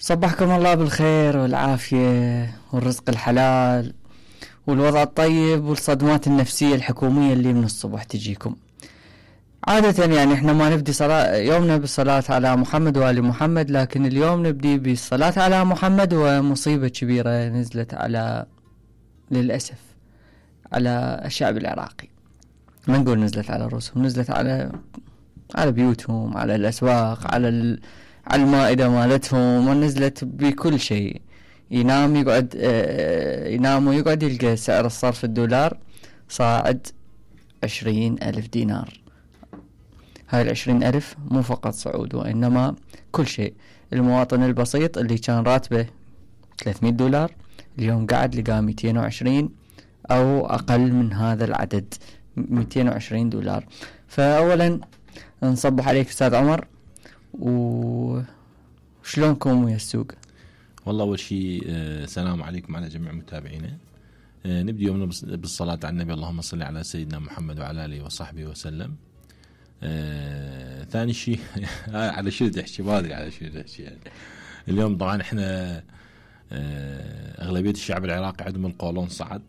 صبحكم الله بالخير والعافية والرزق الحلال والوضع الطيب والصدمات النفسية الحكومية اللي من الصبح تجيكم. عادة يعني احنا ما نبدي يومنا بالصلاة على محمد وآل محمد، لكن اليوم نبدي بالصلاة على محمد ومصيبة كبيرة نزلت على للأسف على الشعب العراقي. ما نقول نزلت على رؤوسهم، نزلت على بيوتهم، على الأسواق، على المائدة مالتهم، ونزلت بكل شيء. ينام ويقعد يلقى سعر الصرف الدولار صاعد 20,000 دينار. هاي 20,000 مو فقط صعود وإنما كل شيء. المواطن البسيط اللي كان راتبه 300 دولار اليوم قاعد لقى 220 أو أقل من هذا العدد، 220 دولار. فأولا نصبح عليك أستاذ عمر، وشلونكم ويا السوق؟ والله أول شيء سلام عليكم على جميع متابعينا. نبدأ يومنا بالصلاة على النبي، اللهم صل على سيدنا محمد وعلى آله وصحبه وسلم. ثاني شيء على شو تحكي؟ ما أدري على شو تحكي يعني. اليوم طبعا احنا أغلبية الشعب العراقي عندهم القولون صعد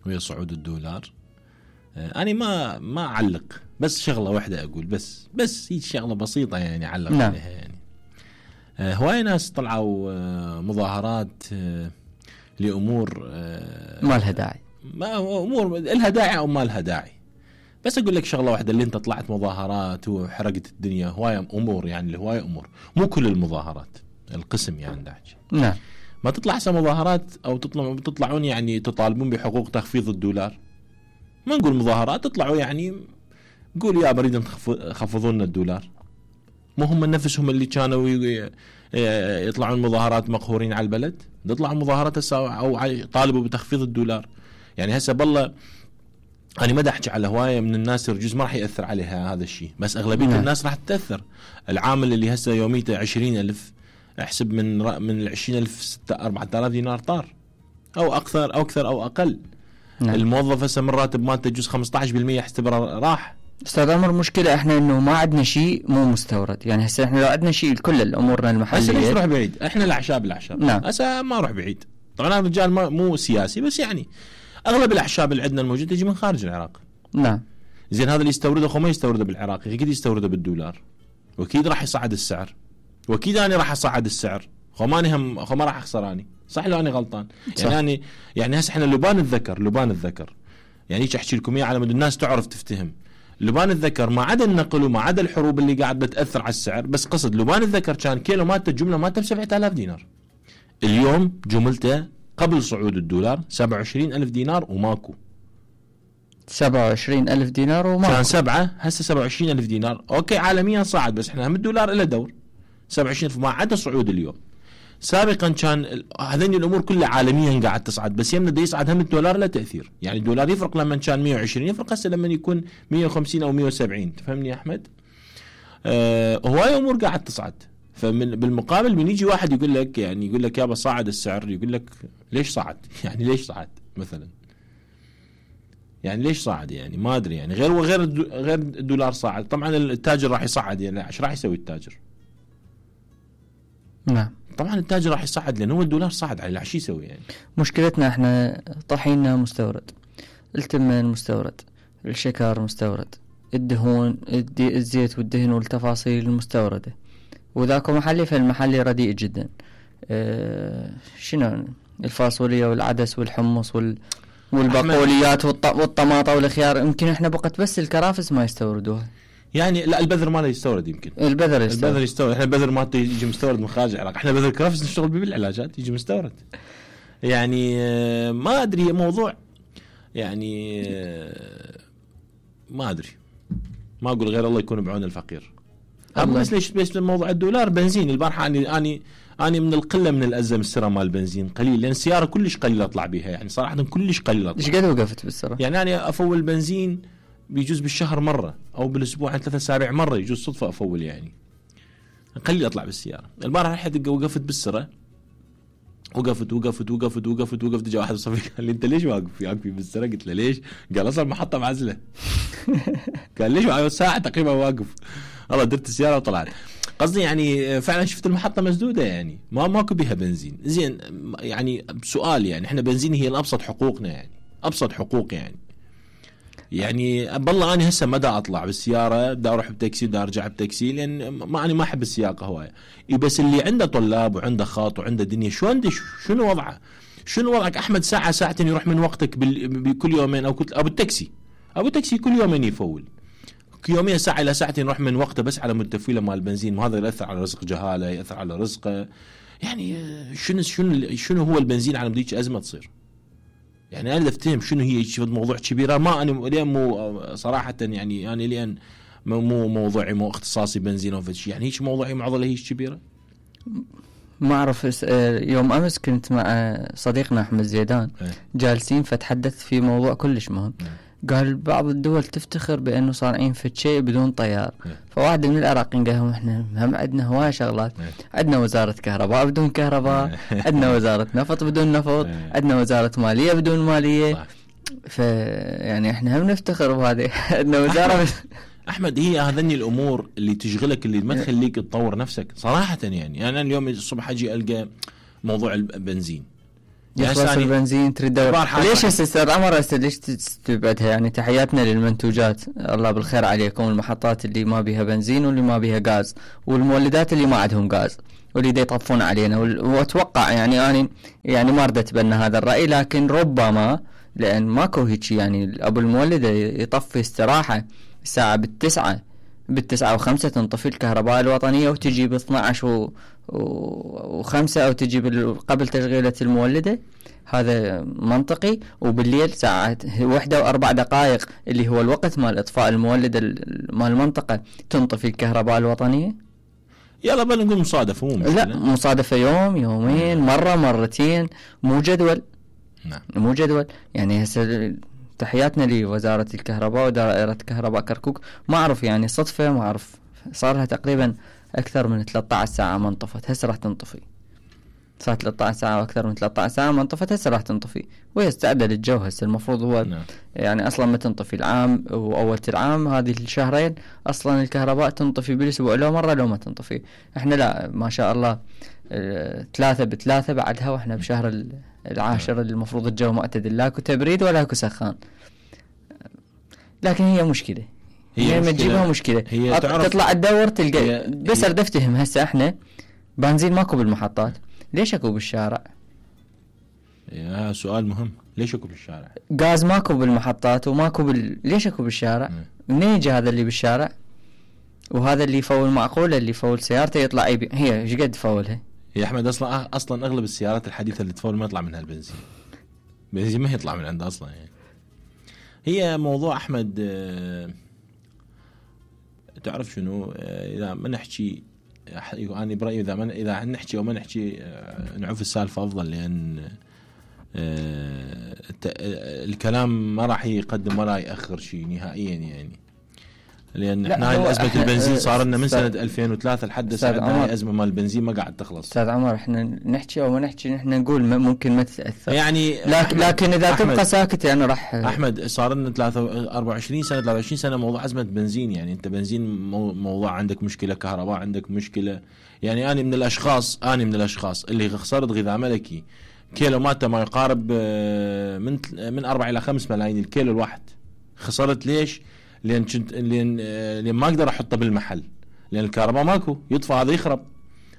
ويا صعود الدولار. أنا ما أعلق، بس شغلة واحدة أقول، بس هي شغلة بسيطة يعني أعلق عليها. يعني هواي ناس طلعوا مظاهرات لأمور ما لها داعي، أمور لها داعي أو ما لها داعي. بس أقول لك شغلة واحدة، اللي أنت طلعت مظاهرات وحرقت الدنيا، هواي أمور يعني هواي أمور، مو كل المظاهرات، القسم يعني داعي. نعم. ما تطلع مظاهرات أو تطلعون يعني تطالبون بحقوق تخفيض الدولار. ما نقول مظاهرات، تطلعوا يعني نقول يا بريد خفضوا لنا الدولار. مو هم نفسهم اللي كانوا يطلعون مظاهرات مقهورين على البلد؟ يطلعوا مظاهرات أو طالبوا بتخفيض الدولار. يعني هسه بالله أنا ما احكي على هواية من الناس يرجوز ما راح يأثر عليها هذا الشيء، بس أغلبية الناس راح تتأثر. العامل اللي هسه يوميته 20,000، احسب من 20,000 4,000 دينار طار، أو أكثر أو أقل. نعم. الموظف هسه من راتب مالته يجوز 15% احتبر راح. استاذ عمر، مشكلة احنا انه ما عندنا شيء مو مستورد. يعني هسه احنا لو عندنا شيء لكل الامورنا المحلية هسه ليش نروح بعيد؟ احنا الاعشاب. نعم. هسه ما اروح بعيد. طبعا انا رجال مو سياسي، بس يعني اغلب الاعشاب اللي عندنا الموجودة تجي من خارج العراق. نعم. زين هذا اللي يستورده خو ما يستورده بالعراق، اكيد يستورده بالدولار، واكيد راح يصعد السعر، واكيد انا راح اصعد السعر. خو ما راح اخسر اني، صح لو اني غلطان؟ صح. يعني هسه احنا لبان الذكر يعني هيك احكي لكم اياه على مود الناس تعرف تفتهم. لبان الذكر ما عدا النقل وما عدا الحروب اللي قاعده تاثر على السعر، بس قصد لبان الذكر كان كيلو مالته الجمله مالته ب 7,000 دينار. اليوم جملته قبل صعود الدولار 27,000 دينار وماكو. 27,000 دينار وماكو. كان 7، هسه 27,000 دينار. اوكي عالميا صعد، بس احنا هم الدولار له دور. 27,000 ما عدا صعود اليوم. سابقا كان هذين الامور كلها عالميا قاعد تصعد، بس يمنا دا يصعد هم الدولار له تاثير. يعني الدولار يفرق لما كان 120، يفرق هسه لما يكون 150 او 170. تفهمني يا احمد؟ هواي امور قاعد تصعد. بالمقابل من يجي واحد يقول لك يابا صعد السعر، يقول لك ليش صعد؟ يعني ليش صعد مثلا؟ يعني ليش صعد؟ يعني ما ادري. يعني غير الدولار صعد. طبعا التاجر راح يصعد، يعني ايش راح يسوي التاجر؟ نعم. طبعا التاجر راح يصعد لأنه هو الدولار صعد عليه، شو يسوي يعني؟ مشكلتنا احنا طحيننا مستورد، التمن مستورد، الشكر مستورد، الدهون الزيت والدهن والتفاصيل المستوردة، وذاك محلي، فالمحلي رديء جدا. شنو الفاصوليا والعدس والحمص والبقوليات والطماطة والخيار، يمكن احنا بقت بس الكرافس ما يستوردوها. يعني لا، البذر ماله يستورد. يمكن البذر يستورد. احنا البذر مالته يجي مستورد من خارج العراق. احنا بذر كرافس نشتغل به بالعلاجات يجي مستورد. يعني ما ادري موضوع، يعني ما ادري، ما اقول غير الله يكون بعون الفقير. بس ليش بس موضوع الدولار؟ بنزين البارحه اني من القله من الازم السره مال البنزين قليل، لان السياره كلش قليله اطلع بها. يعني صراحه كلش قليله اطلع. ايش قد وقفت بالسره؟ يعني انا افول بنزين بيجوز بالشهر مرة أو بالأسبوع عن 3 أسابيع مرة، يجوز صدفة أفول. يعني قليل أطلع بالسيارة. البارحة رحت وقفت بالسرة وقفت جاء واحد صفي قال لي انت ليش واقف بالسرعه؟ قلت له ليش؟ قال اصلا محطه معزله. قال ليش معي ساعه تقريبا واقف. والله درت السياره وطلعت. قصدي يعني فعلا شفت المحطه مسدوده يعني ماكو بها بنزين. زين يعني سؤال يعني احنا بنزين هي الابسط حقوقنا يعني ابسط حقوق يعني بالله انا هسه ما دا اطلع بالسياره دا اروح بتاكسي دا ارجع بتاكسي لان ما احب السياقه هوايه. بس اللي عنده طلاب وعنده خاط وعنده دنيا شنو وضعه؟ شنو وضعك احمد؟ ساعه ساعتين يروح من وقتك بكل يومين او ابو التاكسي كل يومين يفول يومين ساعه الى ساعتين يروح من وقته بس على متفويله مال البنزين. وهذا ياثر على رزق جهاله ياثر على رزقه يعني. شنو هو البنزين على مديك ازمه تصير يعني؟ انا افتهم شنو هي موضوع كبيره. ما انا اليوم مو صراحه يعني انا لان مو موضوعي مو اختصاصي بنزين او شيء يعني هيك موضوعي معضله هيك كبيره. ما اعرف. يوم امس كنت مع صديقنا احمد زيدان جالسين فتحدث في موضوع كلش مهم. قال بعض الدول تفتخر بانه صانعين في شيء بدون طيار. فواحد من العراقيين قال لهم احنا هم عندنا هواي شغلات. عندنا وزاره كهرباء بدون كهرباء، عندنا وزاره نفط بدون نفط، عندنا وزاره ماليه بدون ماليه. يعني احنا هم نفتخر بهذه. عندنا وزاره احمد هي هذني الامور اللي تشغلك اللي ما تخليك تطور نفسك صراحه يعني. انا اليوم الصبح اجي القى موضوع البنزين يخلص البنزين تريد ليش استاذ عمر ليش تستبعدها يعني؟ تحياتنا للمنتوجات الله بالخير عليكم، المحطات اللي ما بيها بنزين واللي ما بيها غاز والمولدات اللي ما عندهم غاز واللي دا يطفون علينا. واتوقع يعني انا يعني ما رد اتبنى هذا الراي، لكن ربما لان ماكو هيك يعني ابو المولد يطفي استراحه الساعه بالتسعة و5 تنطفي الكهرباء الوطنيه وتجي ب12 و5 او تجي قبل تشغيله المولده. هذا منطقي. وبالليل ساعة 1:04 اللي هو الوقت مال اطفاء المولده مال المنطقه تنطفي الكهرباء الوطنيه. يلا بنقول مصادفه مو مشكلة. لا مصادفه يوم يومين مره مرتين مو جدول. نعم مو جدول يعني. هسه تحياتنا لوزاره الكهرباء ودائره كهرباء كركوك. ما اعرف يعني صدفه ما اعرف صار لها تقريبا اكثر من 13 ساعه ما انطفت. هسه راح تنطفي. صار 13 ساعه واكثر من 13 ساعه ما انطفت. هسه راح تنطفي وهي استعدت للجو. هسه المفروض هو يعني اصلا ما تنطفي العام واول العام هذه الشهرين اصلا الكهرباء تنطفي بالاسبوع لو مره لو ما تنطفي. احنا لا ما شاء الله 3/3 بعدها واحنا بشهر العاشر المفروض الجو معتدل لاكو تبريد ولا اكو سخان. لكن هي مشكله. هي ما تجيبها مشكله. تطلع تدور تلقى بس اريد افتهم هسه احنا بنزين ماكو بالمحطات ليش اكو بالشارع؟ يا سؤال مهم. ليش اكو بالشارع؟ غاز ماكو بالمحطات وماكو ليش اكو بالشارع؟ منين يجي هذا اللي بالشارع؟ وهذا اللي يفول معقوله اللي يفول سيارته يطلع هي ايش قد تفولها؟ يا احمد اصلا اغلب السيارات الحديثه اللي تفول ما يطلع منها البنزين. البنزين ما يطلع من عندها اصلا يعني. هي موضوع احمد تعرف شنو اذا ما نحكي انا برايي اذا نحكي او ما نحكي نعوف السالفه افضل لان الكلام ما راح يقدم ولا ياخر شيء نهائيا يعني. لان احنا ازمه البنزين صار لنا من سنه 2003 لحد هسه ازمه مال البنزين ما قاعد تخلص. استاذ عمر احنا نحكي او ما نحكي نحن نقول ممكن ما تتاثر يعني لكن اذا تبقى ساكت يعني راح احمد صار لنا 23 سنه موضوع ازمه بنزين يعني. انت بنزين موضوع عندك مشكله كهرباء عندك مشكله يعني. انا من الاشخاص اللي خسرت غذاء ملكي كيلو ماته ما يقارب من 4 إلى 5 ملايين الكيلو الواحد. خسرت ليش؟ لأن ما أقدر أحطه بالمحل لأن الكهرباء ماكو يطفى هذا يخرب.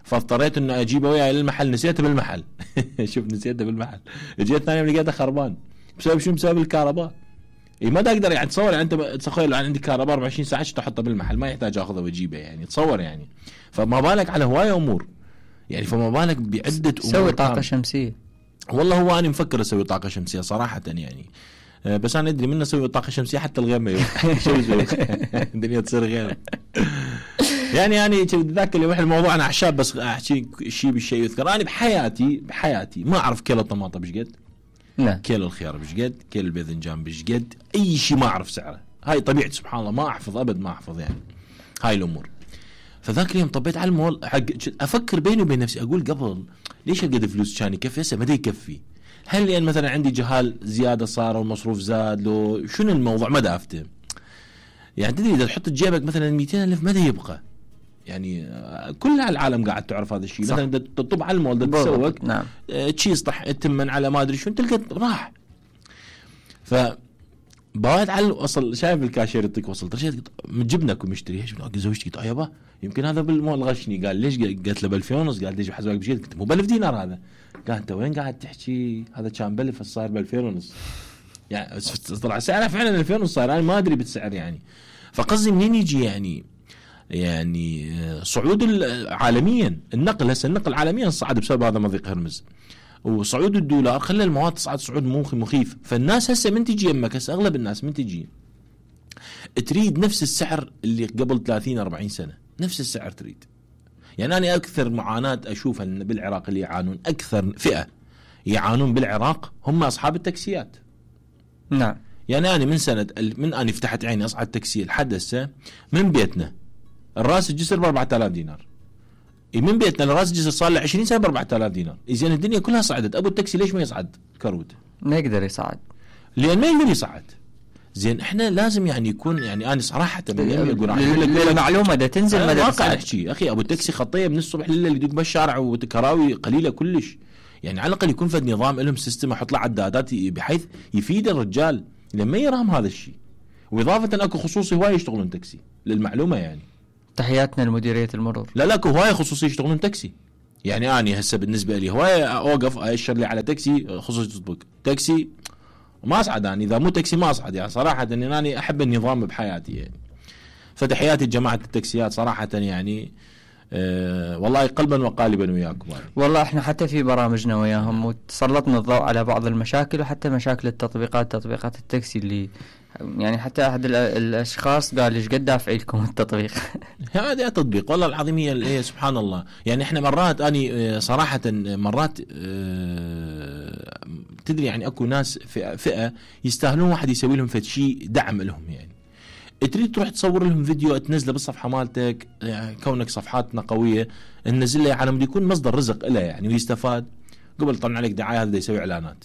فاضطريت إنه أجيبه وياي للمحل. نسيته بالمحل. شوف نسيته بالمحل. جيت ثاني لقيته خربان بسبب شو؟ بسبب الكهرباء. ما تقدر يعني تصور يعني. أنت تخيل عندك كهرباء 24 ساعة تحطه بالمحل ما يحتاج أخذه وأجيبه يعني. تصور يعني. فما بالك على هواية أمور يعني. فما بالك بعدة أمور. سوي طاقة شمسية. والله هو أنا مفكر أسوي طاقة شمسية صراحة يعني. بس أنا أدري من أسوي طاقة شمسية حتى الغير ما يروح. شو يسوي؟ الدنيا تصير غير يعني ذاك اليوم إحنا الموضوع أنا أحشاب بس أحكي شيء بالشيء يذكر. أنا بحياتي ما أعرف كيلو الطماطم بشقد. نعم. كيلو الخيار بشقد. كيلو الباذنجان بشقد. أي شيء ما أعرف سعره. هاي طبيعة سبحان الله ما أحفظ أبد ما أحفظ يعني هاي الأمور. فذاك اليوم طبيت على المول أفكر بيني وبين نفسي أقول قبل ليش هالقد فلوس كان يكفي؟ هسه ما يكفي. هل لان مثلا عندي جهال زياده صار والمصروف زاد لو شنو الموضوع؟ ما افتهم. يعني تدري اذا تحط بجيبك مثلا 200,000 ما يبقى. يعني كل العالم قاعد تعرف هذا الشيء. مثلا تطب على المول تسوق نعم تشيز تمن على ما ادري شو تلقى راح. ف بعد على وصل شايف الكاشير يعطيك وصل رشيد من جبنك ومشتري ايش زوجتي قلت يابا يمكن هذا بالمول غشني. قال ليش؟ قالت له ب2000 ونص. قال ليش بحسبك بشيء؟ قلت مو ب1000 دينار هذا. قال انت وين قاعد تحكي؟ هذا كان ب1000 صاير ب2000 ونص. يعني طلع سعره فعلا 2000 ونص صاير. انا ما ادري بالسعر يعني. فقصدي منين يجي يعني صعود عالميا النقل. هسه النقل عالميا صعد بسبب هذا مضيق هرمز وصعود الدولار خلى المواد تصعد صعود مخيف. فالناس هسه من تجي يمك هسه اغلب الناس من تجي تريد نفس السعر اللي قبل 30-40 سنة. نفس السعر تريد. يعني أنا أكثر معاناة أشوفها بالعراق اللي يعانون أكثر فئة يعانون بالعراق هم أصحاب التاكسيات. نعم. يعني أنا من سنة من أنا فتحت عيني أصعد تاكسي لحد هسه من بيتنا الراس الجسر ب4000 دينار. من بيتنا لراس الجسر صار له 20 سنة ب4000 دينار. إذن الدنيا كلها صعدت. أبو التاكسي ليش ما يصعد كروت؟ ما يقدر يصعد لأن ما يقدر يصعد. زين احنا لازم يعني يكون يعني انا صراحه المعلومه ده تنزل مدى واقع احكي اخي ابو التاكسي خطيه من الصبح لليل يدق بالشارع وكراوي قليله كلش. يعني على الاقل يكون فد نظام لهم سيستم احط له عدادات بحيث يفيد الرجال لما يرام هذا الشيء. واضافه اكو خصوصي هواي يشتغلون تاكسي للمعلومه يعني. تحياتنا لمديريه المرور. لا اكو هواي خصوصي يشتغلون تاكسي. يعني اني هسه بالنسبه لي هواي اوقف اشر لي على تاكسي خصوصي تطبق تاكسي ما اصعد. انا اذا مو تاكسي ما اصعد يعني صراحه اني احب النظام بحياتي يعني. فتحياتي لجماعه التاكسيات صراحه يعني والله قلبا وقالبا وياكم. والله احنا حتى في برامجنا وياهم وتسلطنا الضوء على بعض المشاكل وحتى مشاكل تطبيقات التاكسي اللي يعني حتى احد الاشخاص قال ايش قد دافع لكم التطبيق. هذا تطبيق والله العظيم هي سبحان الله. يعني احنا مرات اني صراحه مرات تدري يعني اكو ناس فئه يستاهلون واحد يسوي لهم فد شيء دعم لهم. يعني تريد تروح تصور لهم فيديو تنزله بالصفحه مالتك يعني كونك صفحاتنا قويه ننزل له على مود يكون مصدر رزق له يعني ويستفاد. قبل طلع عليك دعايه هذا يسوي اعلانات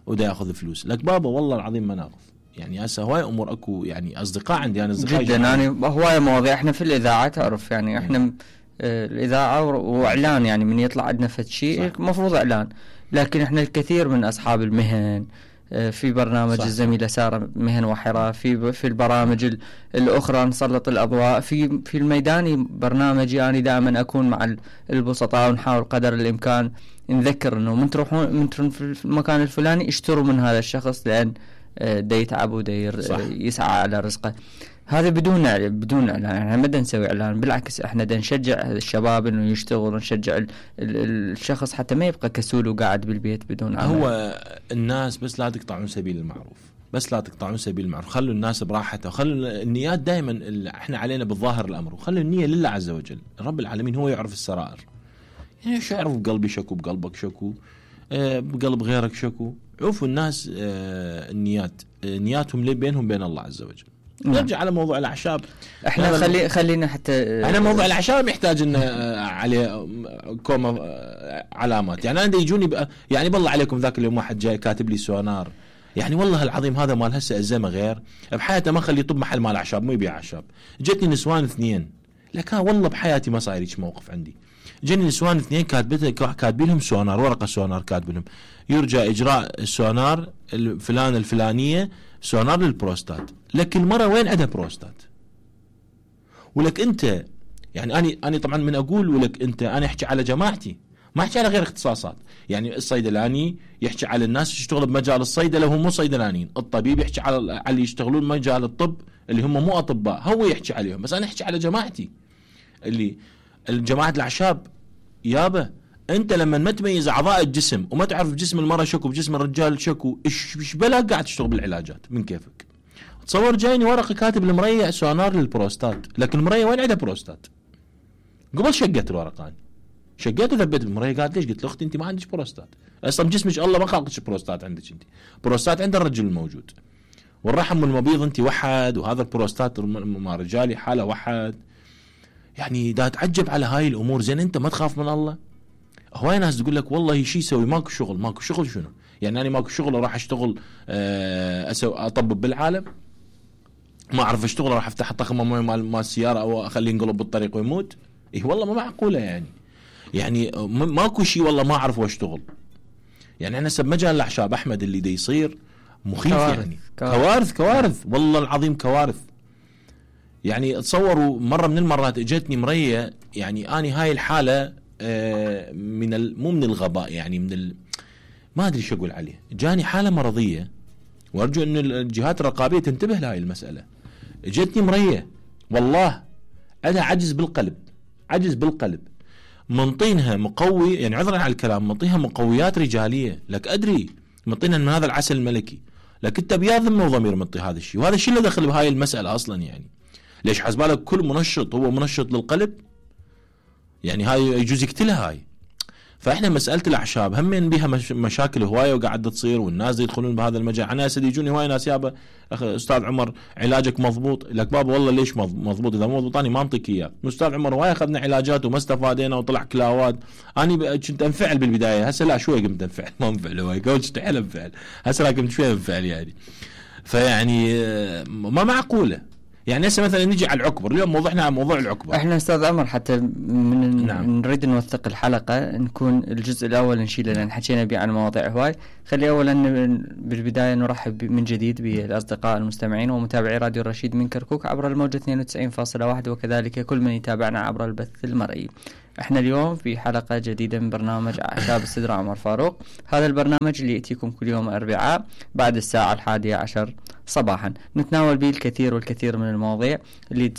ودا ياخذ فلوس لك بابا والله العظيم ما ناخذ. يعني هسه هواي امور اكو يعني اصدقاء عندي انا اصدقاء جدا يعني هواي مواضيع. احنا في الاذاعه تعرف يعني احنا الاذاعه واعلان يعني من يطلع عندنا فد شيء المفروض اعلان. لكن احنا الكثير من اصحاب المهن في برنامج الزميلة سارة مهن وحرة في البرامج الأخرى نسلط الأضواء في الميداني برنامجي أنا دائما أكون مع البسطاء ونحاول قدر الإمكان نذكر إنه من تروحون في المكان الفلاني اشتروا من هذا الشخص لأن دا يتعب ودا يسعى على رزقه. هذا بدون اعلان. احنا ما نسوي اعلان بالعكس احنا دا نشجع الشباب انه يشتغل ونشجع الشخص حتى ما يبقى كسول وقاعد بالبيت بدون عمل. هو الناس بس لا تقطعون سبيل المعروف. بس لا تقطعون سبيل المعروف. خلوا الناس براحتها وخلوا النيات دائما احنا علينا بالظاهر الامر وخلوا النية لله عز وجل. رب العالمين هو يعرف السرائر. يعني شو يعرف بقلبي شكو بقلبك شكو بقلب غيرك شكو. عوفوا الناس نياتهم بينهم بين الله عز وجل. نرجع على موضوع الأعشاب. احنا خلينا حتى احنا موضوع الأعشاب يحتاج ان عليه كومة علامات. يعني انا يجوني يعني بالله عليكم ذاك اليوم واحد جاي كاتب لي سونار. يعني والله العظيم هذا مال هسه الزمه غير بحياته ما خلي يطب محل مال أعشاب ما يبيع أعشاب. جتني نسوان 2 لك والله بحياتي ما صاير هيك موقف عندي. جاني نسوان 2 كاتبين لهم سونار ورقه سونار كاتب لهم يرجى اجراء السونار الفلانيه سونار للبروستات. لك المرة وين عندها بروستات؟ ولك انت يعني اني طبعا من اقول ولك انت انا احكي على جماعتي ما احكي على غير اختصاصات. يعني الصيدلاني يحكي على الناس يشتغل بمجال الصيدله وهم مو صيدلانيين. الطبيب يحكي على اللي يشتغلون مجال الطب اللي هم مو اطباء هو يحكي عليهم. بس انا احكي على جماعتي اللي الجماعه الاعشاب. يابا انت لما ما تميز اعضاء الجسم وما تعرف بجسم المرأة شكو بجسم الرجال شكو ايش بلا قاعد تشتغل بالعلاجات من كيفك. تصور جايني ورقه كاتب المريع سونار للبروستات. لكن المريع وين عندها بروستات؟ قبل شقت الورقه شقيت وثبت المريع. قالت ليش؟ قلت له اختي انت ما عندك بروستات اصلا جسمك الله ما خلقش بروستات عندك. انت بروستات عند الرجل الموجود والرحم والمبيض انت وحد وهذا البروستات مع رجالي حاله وحد. يعني دا تعجب على هاي الامور. زين انت ما تخاف من الله؟ هواي ناس تقول لك والله شي يسوي ماكو شغل. ماكو شغل شنو يعني؟ أنا ماكو شغل راح أشتغل أطبب بالعالم؟ ما أعرف أشتغل راح أفتح طخمة مال السيارة أو أخليه ينقلب بالطريق ويموت؟ إيه والله ما معقولة يعني ماكو شيء والله ما أعرف واشتغل. يعني أنا سب مجال الأعشاب أحمد اللي دا يصير مخيف كوارث. يعني كوارث والله العظيم كوارث. يعني تصوروا مرة من المرات اجتني مرية، يعني أني هاي الحالة مو من الغباء يعني ما أدري شو أقول عليه، جاني حالة مرضية وأرجو أن الجهات الرقابية تنتبه لهاي المسألة. اجتني مرية والله عندها عجز بالقلب، منطينها مقوي، يعني عذرا على الكلام، منطيها مقويات رجالية لك أدري، منطينها من هذا العسل الملكي، لك أنت بيا ذمة وضمير منطي هذا الشيء، وهذا الشيء اللي دخل بهاي المسألة أصلا. يعني ليش حسبالك كل منشط هو منشط للقلب؟ يعني هاي يجوز يقتلها هاي. فاحنا مسألة الأعشاب همين بها مشاكل هواية وقاعدة تصير، والناس يدخلون بهذا المجال. أنا أسد يجوني هواي ناس يابا أستاذ عمر علاجك مضبوط، لك بابا والله ليش مضبوط؟ إذا مو مضبوط أنا ما أنطيك إياه. أستاذ عمر هواي أخذنا علاجات وما استفادينا وطلع كلاوات. أنا كنت أنفعل بالبداية، هسه لا شوي قمت أنفعل، ما أنفعل هواي قلت استحيل أنفعل، هسه لا قمت شوي أنفعل يعني. فيعني ما معقولة. يعني هسه مثلا نجي على العكبر، اليوم موضوعنا عن موضوع العكبر. احنا استاذ عمر حتى نريد نوثق الحلقة، نكون الجزء الاول نشيله لان حكينا به عن مواضيع هواي. خلي اولا بالبداية نرحب من جديد بالاصدقاء المستمعين ومتابعي راديو الرشيد من كركوك عبر الموجة 92.1، وكذلك كل من يتابعنا عبر البث المرئي. احنا اليوم في حلقة جديدة من برنامج أعشاب السدرة عمر فاروق. هذا البرنامج اللي يأتيكم كل يوم أربعاء بعد الساعة 11 صباحا، نتناول به الكثير والكثير من المواضيع اللي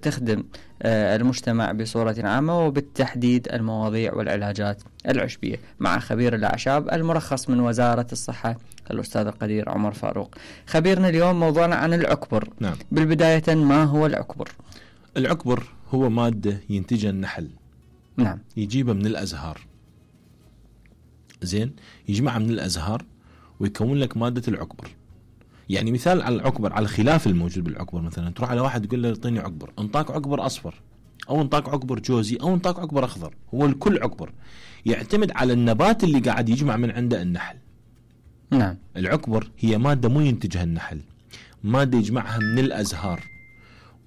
تخدم المجتمع بصورة عامة، وبالتحديد المواضيع والعلاجات العشبية مع خبير الأعشاب المرخص من وزارة الصحة الأستاذ القدير عمر فاروق. خبيرنا اليوم موضوعنا عن العكبر. نعم. بالبداية ما هو العكبر؟ العكبر هو مادة ينتجها النحل. نعم. يجيبها من الأزهار، زين، يجمعها من الأزهار ويكون لك مادة العكبر. يعني مثال على العكبر، على الخلاف الموجود بالعكبر، مثلا تروح على واحد تقول له اعطيني عكبر، انطاك عكبر أصفر أو انطاك عكبر جوزي أو انطاك عكبر أخضر، هو الكل عكبر، يعتمد على النبات اللي قاعد يجمع من عنده النحل. نعم. العكبر هي مادة مو ينتجها النحل، مادة يجمعها من الأزهار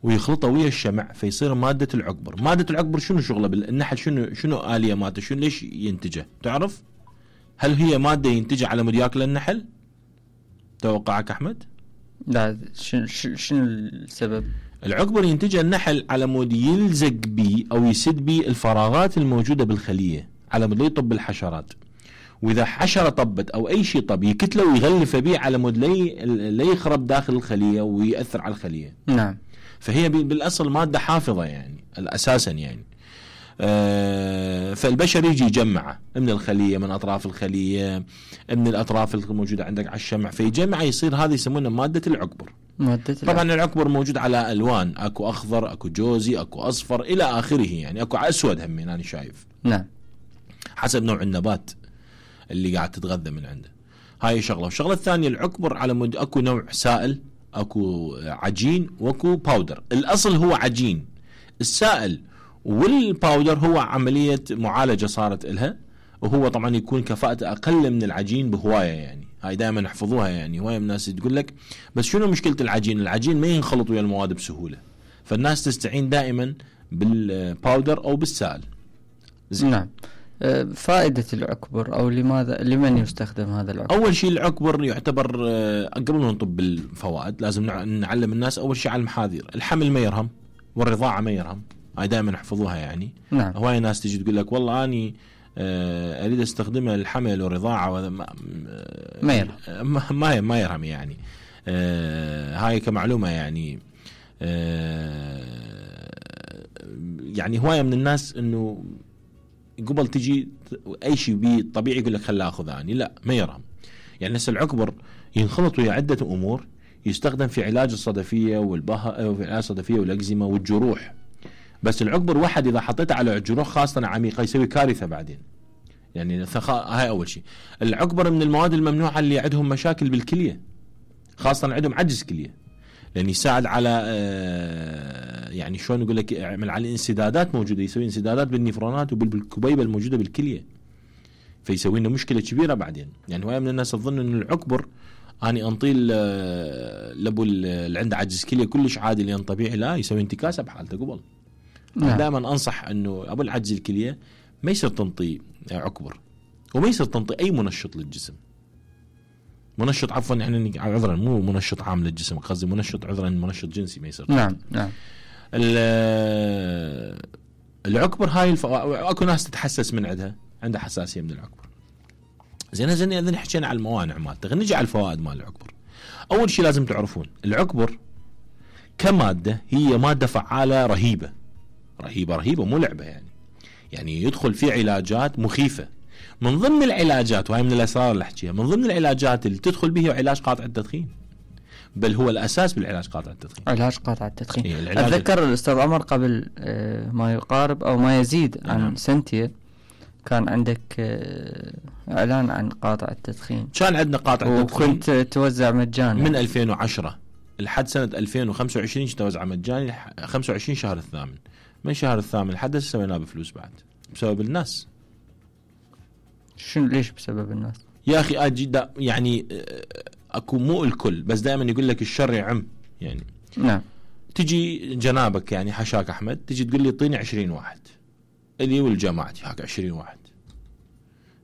ويخلطها ويا الشمع فيصير مادة العكبر. مادة العكبر شنو شغله بالنحل؟ شنو آلية مادة؟ شنو ليش ينتجه؟ تعرف؟ هل هي مادة ينتجها على مود ياكل النحل؟ توقعك أحمد؟ لا، شنو السبب؟ العكبر ينتجها النحل على مود يلزق بي أو يسد بي الفراغات الموجودة بالخلية، على مود يطب الحشرات. وإذا حشرة طبت أو أي شيء طب يكتله ويغلف بيه على مود لا يخرب داخل الخلية ويأثر على الخلية. نعم. فهي بالأصل مادة حافظة يعني أساسا يعني. فالبشر يجي يجمعه من الخلية، من أطراف الخلية، من الأطراف الموجودة عندك على الشمع، فيجمع يصير هذا يسمونه مادة العكبر. طبعا العكبر موجود على ألوان، أكو أخضر، أكو جوزي، أكو أصفر إلى آخره، يعني أكو أسود همين أنا شايف. نعم. حسب نوع النبات اللي قاعد تتغذى من عنده. هاي شغلة. والشغلة الثانية العكبر على مود أكو نوع سائل، اكو عجين واكو باودر. الاصل هو عجين، السائل والباودر هو عملية معالجة صارت لها، وهو طبعا يكون كفاءته اقل من العجين بهواية. يعني هاي دائما احفظوها، يعني هواية من الناس تقول لك بس شنو مشكلة العجين؟ العجين ما ينخلط ويا المواد بسهولة، فالناس تستعين دائما بالباودر او بالسائل. نعم. فائدة العكبر أو لمن يستخدم هذا العكبر؟ أول شيء العكبر يعتبر قبل ما نطب بالفوائد لازم نعلم الناس أول شيء على المحاذير. الحمل ما يرهم والرضاعة ما يرهم، هاي دائما احفظوها يعني. نعم. هواي ناس تجي تقول لك والله أني أريد استخدمها الحمل والرضاعة وهذا ما يرهم. ما يرهم يعني. هاي كمعلومة يعني. يعني هواية من الناس إنه قبل تجي اي شيء بي طبيعي يقول لك خلاه اخذ اني، لا ما يرهم. يعني هسه العكبر ينخلط ويا عده امور، يستخدم في علاج الصدفيه والبهاء وفي علاج الصدفيه والاكزيما والجروح. بس العكبر واحد اذا حطيته على الجروح خاصه عميقه يسوي كارثه بعدين. يعني هاي اول شيء. العكبر من المواد الممنوعه اللي عندهم مشاكل بالكليه، خاصه عندهم عجز كليه، لان يساعد على يعني شلون نقول لك، يعمل على انسدادات موجوده، يسوي انسدادات بالنفرونات وبالكبيبه الموجوده بالكليه. فيسوي لنا مشكله كبيره بعدين. يعني هوايه من الناس تظن انه العكبر اني انطيل لابو اللي عنده عجز كليه كلش عادي لان طبيعي، لا، يسوي انتكاسه بحالته قبل. نعم. دائما انصح انه ابو العجز الكليه ما يصير تنطي عكبر، وما يصير تنطي اي منشط للجسم. منشط عفوا يعني عذرا مو منشط عام للجسم، قصدي منشط عذرا منشط جنسي ما يصير. نعم نعم. العكبر هاي اكو ناس تتحسس من عندها حساسيه من العكبر. زين اذا حكينا على الموانع مالته، خلينا نجي على الفوائد مال العكبر. اول شيء لازم تعرفون العكبر كماده هي ماده فعاله رهيبه رهيبه رهيبه، مو لعبه يعني يدخل في علاجات مخيفه. من ضمن العلاجات، وهي من الاسرار اللي احكيها، من ضمن العلاجات اللي تدخل به علاج قاطع التدخين، بل هو الاساس بالعلاج قاطع التدخين. علاج قاطع التدخين. إيه اتذكر الاستاذ عمر قبل ما يقارب او ما يزيد عن سنتين كان عندك اعلان عن قاطع التدخين. كان عندنا قاطع التدخين وكنت توزع مجانا من 2010 لحد سنه 2025 توزع مجاني 25 شهر الثامن. من شهر الثامن لحد سويناه بفلوس بعد بسبب الناس. شنو ليش بسبب الناس؟ يا اخي اجي يعني اكو مو الكل، بس دائما يقول لك الشر يعم يعني. نعم. تجي جنابك يعني حشاك احمد، تجي تقول لي اعطيني 20 واحد اللي والجماعتي هاك 20 واحد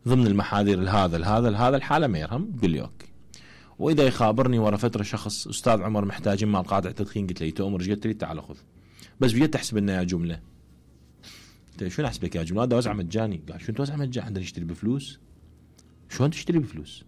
ضمن المحاذير هذا الحاله ما يرهم، تقول لي اوكي. واذا يخابرني ورا فتره شخص استاذ عمر محتاجين مال قاطع تدخين، قلت له تؤمر ايش قلت لي؟ تعال خذ. بس بجيت تحسب لنا يا جمله، قلت شو نحسب لك يا جمله؟ هذا وزع مجاني. قال شو انت وزع مجاني؟ عندنا نشتري بفلوس؟ شلون تشتري بفلوس؟